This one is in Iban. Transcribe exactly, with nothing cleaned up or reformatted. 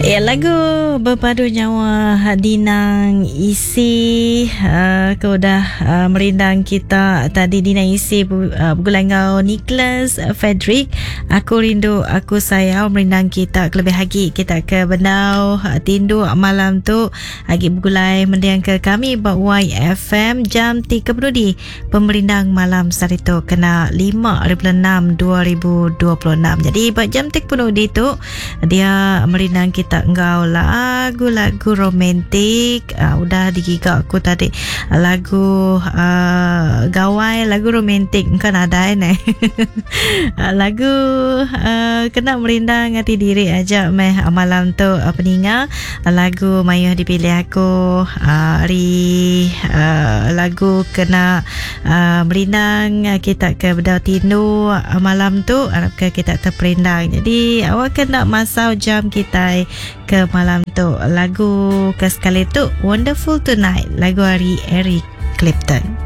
Ya, lagu berpadu nyawa Dinang Isi uh, ke udah uh, merindang kita tadi. Dinang Isi uh, bergulai enggau Nicholas Frederick, Aku Rindu Aku Sayau, merindang kita kelebih lagi kita ke benau uh, tinduk malam tu agi bergulai mendiang ke kami ba Y F M jam tiga penudi pemerindang malam sehari tu kena lima enam dua ribu dua puluh enam. Jadi ba jam tiga penudi tu dia merindang kita enggau lagu-lagu romantik. Uh, udah digiga aku tadi lagu uh, gawai, lagu romantik kan ada ni. Lagu uh, kena merindang hati diri aja meh malam tu uh, peninga. Lagu mayuh dipilih aku uh, hari uh, lagu kena uh, merindang kita ke bedau tindu uh, malam tu, harap ke kita terperindang. Jadi awak kena masau jam kita ke malam tu. Lagu ke sekali tu Wonderful Tonight, lagu hari Eric Clapton.